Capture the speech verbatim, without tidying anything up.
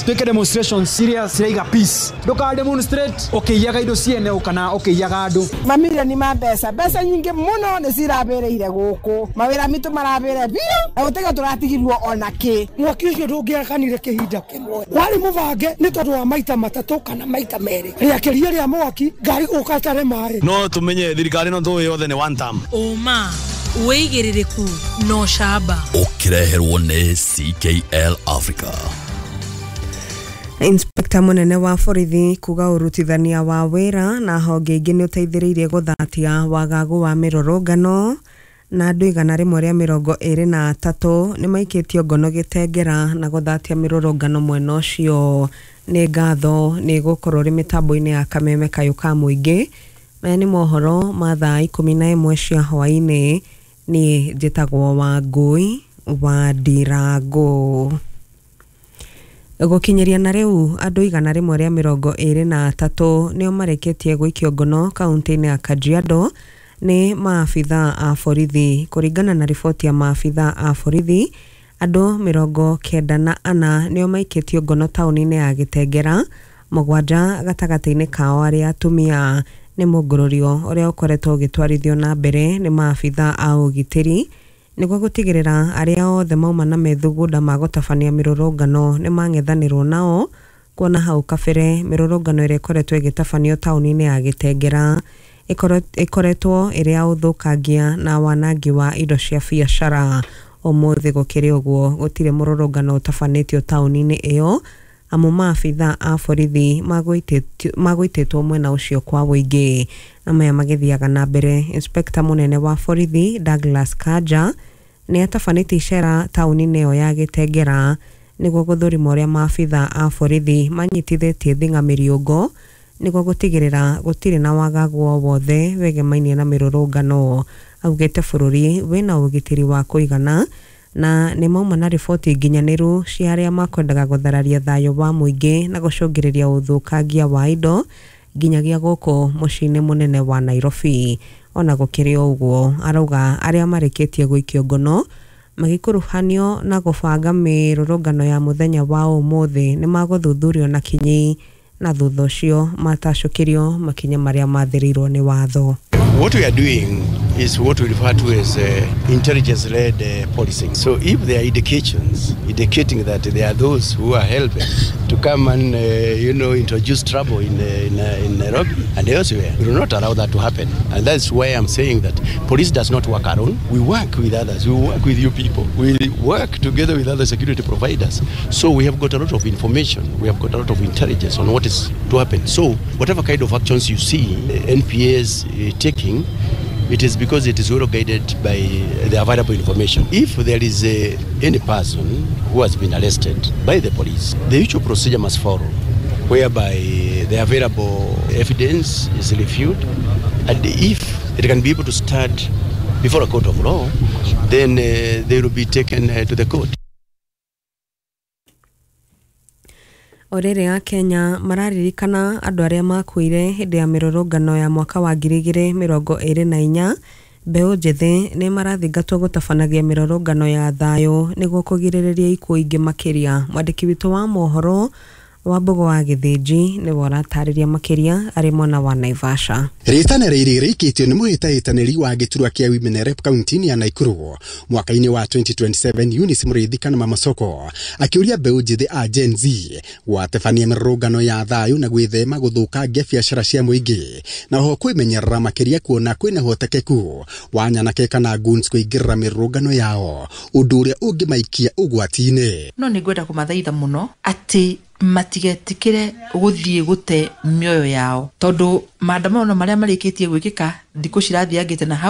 Twĩke demonstration ciria ciraiga peace. Ndũka demonstrate ũkĩiyaga indo ciene kana ũkĩiyaga andũ. Mamirioni ma mbeca, mbeca nyingĩ mũno nĩ cirabĩrĩire gũkũ, mawĩra mitũ marabĩre biũ na gũtiga tũratigirwo ona kĩ. Mwaki ũcio ndũngĩakanire kĩhinda kĩmwe, warĩ mũbange nĩ tondũ wa maita matatũ kana maita merĩ, rĩakĩria rĩa mwaki ngari gũka tare maĩ. No tumenye thirikari no tũĩ yothe nĩ one term. Ũma, wĩigĩrĩrĩku na ũcamba. Ũkĩreherwo nĩ C K L Africa. Inspector mũnene wa borithi kuga ũrutithania wa wĩra na honge ingĩ nĩ ũteithĩrĩirie gũthatia wagagu wa mĩrũrũngano. Na andũ igana rĩmwe rĩa mĩrongo ĩrĩ na atatũ nĩ maikĩtio ngono Gĩtengera na gũthatia mĩrũrũngano mwena ũcio. Nĩ ngatho nĩ gũkorwo ũrĩ mĩtambo-inĩ ya Kameme Kayũ ka Mũingĩ. Maya nĩ mohoro ma thaa ikũmi na ĩmwe cia hwaĩ-inĩ. Niĩ njĩtagwo Wangũi wa Ndirangũ. Gũkinyĩria na rĩu, andũ igana rĩmwe rĩa mĩrongo ĩrĩ na atatũ nĩo marĩkĩtie gũikio ngono kaunti-inĩ ya Kajiado nĩ maabitha a borithi. Kũringana na riboti ya maabitha a borithi, andũ mĩrongo kenda na ana nĩo maikĩtio ngono taũni-inĩ ya Gĩtengera, mũgwanja gatagatĩ-inĩ kao arĩ atumia. Nĩ mũngũrũrio ũrĩa ũkoretwo ũgĩtwarithio na mbere nĩ maabitha a ũgitĩri nĩguo gũtigĩrĩra arĩa othe mauma na methugunda ma gũtabania mĩrũrũngano nĩ mang'ethanĩrwo nao, kuona hau kabere mĩrũrũngano ĩrĩa ĩkoretwo ĩgĩtabanio taũni-inĩ ya Gĩtengera ĩkoretwo ĩrĩ ya ũthũkangia na wanangi wa indo cia biacara. Ũmũthĩ gũkĩrĩ ũguo, gũtirĩ mũrũrũngano ũtabanĩtio taũni-inĩ ĩyo, amu maabitha a borithi magũitĩtwo mwena ũcio kwa ũingĩ. Na maya magĩthiaga na mbere, inspector mũnene wa borithi Douglas Kanja nĩ atabanĩtie icera taũni-inĩ ĩyo ya Gĩtengera nĩguo gũthũrima ũrĩa maabitha a borithi manyitithĩtie thing'a mĩriũngũ nĩguo gũtigĩrĩra gũtirĩ na wagagu o wothe wegemainie na mĩrũrũngano. Augĩte bũrũri wĩna ũgitĩri wa kũigana na nĩ mauma na riboti nginyanĩru cia arĩa makwendaga gũthararia thayũ wa mũingĩ na gũcũngĩrĩria ũthũkangia wa indo nginyagia gũkũ mũciĩ-inĩ mũnene wa Nairobi. Ona gũkĩrĩ o ũguo, arauga arĩa marĩkĩtie gũikio ngono magĩkuruhanio na gũbanga mĩrũrũngano ya mũthenya wa ũmũthĩ nĩ magũthuthurio na kinyi na thutha ũcio matacũkĩrio makinya marĩa mathĩrĩirwo nĩ watho. What we are doing is what we refer to as uh, intelligence-led uh, policing. So if there are indications indicating that there are those who are helping to come and uh, you know introduce trouble in, uh, in, uh, in Nairobi and elsewhere, we will not allow that to happen. And that's why I'm saying that police does not work alone. We work with others. We work with you people. We work together with other security providers. So we have got a lot of information. We have got a lot of intelligence on what is to happen. So whatever kind of actions you see N P S uh, taking, it is because it is well guided by the available information. If there is a, any person who has been arrested by the police, the usual procedure must follow, whereby the available evidence is reviewed, and if it can be able to stand before a court of law, then uh, they will be taken uh, to the court. O rĩrĩ Akenya mararirikana andũ arĩa makuire hĩndĩ ya mĩrũrũngano ya mwaka wa ngiri igĩrĩ mĩrongo ĩrĩ na inya, mbeũ njĩthĩ nĩ marathingatwo gũtabanagia mĩrũrũngano ya thayũ nĩguo kũgirĩrĩria ikuũ ingĩ makĩria. Mwandĩki witũ wa mohoro Wambugu wa Gĩthĩnji nĩwe ũratarĩria makĩria arĩ mwena wa Naivasha. Rĩtana rĩrĩ rĩikĩtio nĩ mũhĩtahĩtanĩri wa gĩturwa kĩa Women Rep kaunti-inĩ ya Nakuru mwaka-inĩ wa twenty twenty-seven, Eunice Mũrĩithi kana Mama Soko, akĩũria mbeũ njĩthĩ a Gen Z gwatebania mĩrũrũngano ya thayũ na gwĩthema gũthũkangia biacara cia mũingĩ, na oho kwĩmenyerera makĩria kuona kwĩna ũhotekeku wa nyanake kana goons kũingĩrĩra mĩrũrũngano yao, ũndũ ũrĩa ũngĩmaikia ũgwati-inĩ. No nĩ ngwenda kũmathaitha mũno atĩ matigetĩkĩre gũthiĩ gũte mĩoyo yao, tondũ maandamano marĩa marĩkĩtie gwĩkĩka thikũ cirathiangĩte na hau.